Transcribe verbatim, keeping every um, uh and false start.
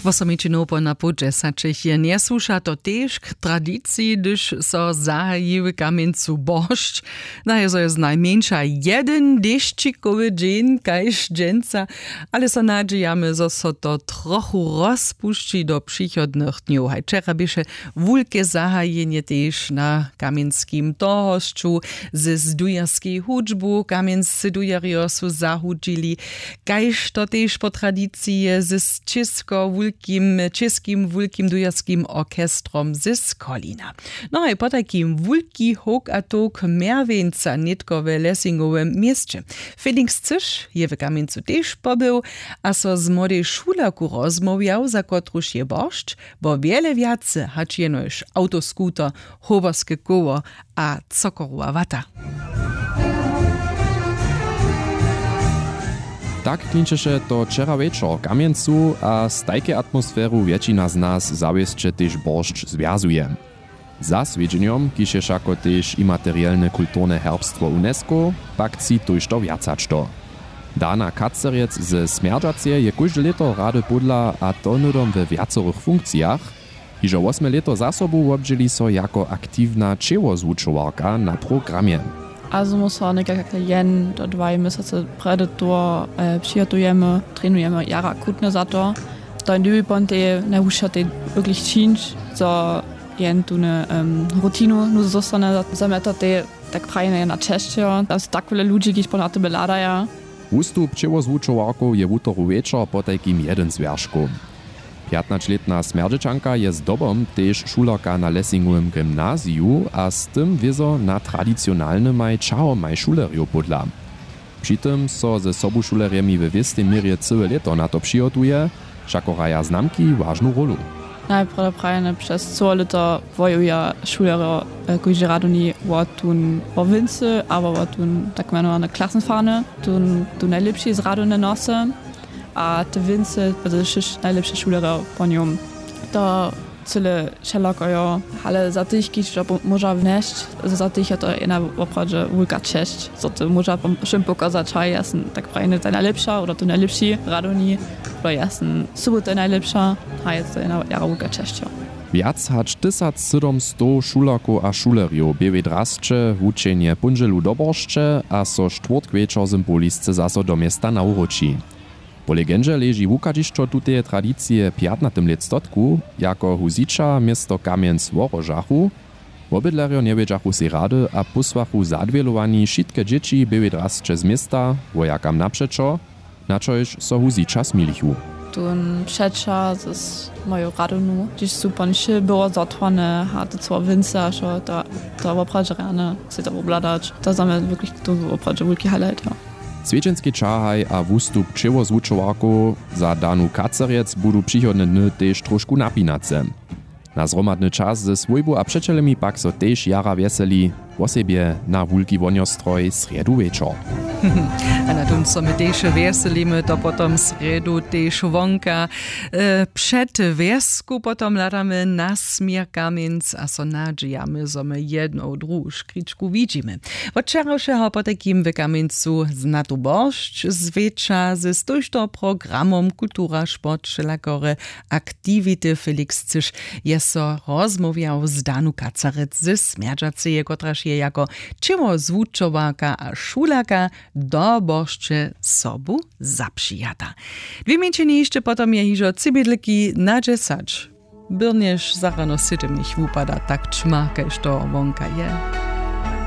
Wosomići nopo na połdźesaćich je njesłuša to tež k tradiciji hdyž so zahaji w kamjencu boršć. Najezo je znajmjeńša jedyn dešćikowy dźeń kaž dźensa. Ale so nadźijamy zo so to trochu rozpušći do přichodnych dnjow haj wčera běše wulke zahajenje tež na kamjenskim tohosću. Z dujerskej hudźbu kamjenscy dujerjo su zahudźili, kaž to tež po tradiciji z čěsko wulkim čěskim wulkim dujerskim orchestrom z skolina. No haj potajkim wulki howk a towk mjerwjeńca nětko w lessingowym měsće. Felix cyš je w kamjencu tež pobył a so z młodej šulerku rozmołwjał za kotruž je boršć, bo wjele wjace hač jenož awtoskuter, hoberske koło a cokorowa wata. Tak klinčeše to wčera wječor w kamjencu a z tajkej atmosferu wjetšina z nas zawěsće tež boršć zwjazuje. Za swjedźenjom kiž je wšako tež imaterielne kulturne herbstwo unesco, pak tři tójšto wjacačto. Dana kacerjec ze smjerdźaceje je kóžde lěto rady pódla a to hnydom we wjacorych funkcijach. Hižo wosme lěto za sobu wobdźěli so jako aktiwna ćěłozwučowarka na programje. A zmu so někak jen do dwaj měsacy prjedy to přihotujemy, trenujemy jara kutny za to. To je dybi pon tej najhušo tej wirklich čińć zo jen tune rutinu nuz zostane za meta tej tak prajene jedna česćeho tam su tak wjele ludźi kiž pon na tebe hladaja. Wustup ćěłozwučowarkow je wutoru wječor potajkim jedyn z wjerškow. Pjatnaćlětna smjerdźećanka je zdobom tež šulerka na lessingowym gymnaziju a z tym wězo na tradicionalnymaj ćahomaj šulerjow pódla. Při tym so ze sobušulerjemi we wěstej měrje cyłe lěto na to přihotuje, wšako hraja znamki wažnu rólu. Najprjedy prajene přez cyło lěto wojuja šulerjo kóždy radowni wo tón wo wěncy abo wo tón tak mjenowany klassenfahne, tón tu najlěpši z radowne nosy a te wěncy, najlěpše šulerjo po njom. To cyle wšelako jo. Ale za tych kiž to móža wnesć, za tych je to jedna woprawdźe wulka česć zo ty móža wšěm pokazać haj ja sym tak prajny ta najlěpša oder tu najlěpši radowni, to ja sym sobu ta najlěpša. Haj je to jedna jara wulka česć jo. Wjac hač tysacsydomstow šulerkow a šulerjow bě w drasće wučenje póndźelu do boršće a so štwórtk wječor symbolisce zaso do města nawróći. Po legendźe leži wuchadźišćo tuteje tradicije w pjatnatym lětstotku, jako huzića město kamjenc wohrožachu. Wobydlerjo njewědźachu sej rady a pósłachu zadwělowani wšitke dźěći běłej drasće z města wojakam napřećo, na čož so huzića smilichu. Tón přećah z moju radownu hdźež su pon wšě było zotwarne a to cyło wěncy a wšo, to woprawdźe rjane sej to wobhladać to za mje wirklich to woprawdźe wulki highlight jo. Swjedźenskej ćahaj a wustup ćěłozwučowarkow za danu kacerjec budu přichodne dny tež trošku napinace. Na zhromadny čas ze swójbu a přećelemi pak so tež jara wjeseli, wosebje na wulki wonjostroj srjedu wječor. A na tón so my tež wjeselimy to potom srjedu tež wonka před wjesku potom hladamy na směr kamjenc a so nadźijamy zo my jednu druhu škričku widźimy. Wot wčerawšeho potajkim w kamjencu znatu boršć zwěča z tójšto programom kultura sport wšelakore aktiwity. Felix cyš je so rozmołwjał z danu kacarec ze smjerdźaceje kotraž je jako ćěło zwučowarka a šulerka do boršće sobu zapřijata. Dwě mjeńšiny hišće potom je hižo třibědliki na dźesać. Byrnješ zarano sydomich wupada tak ćma kaž to wonka je.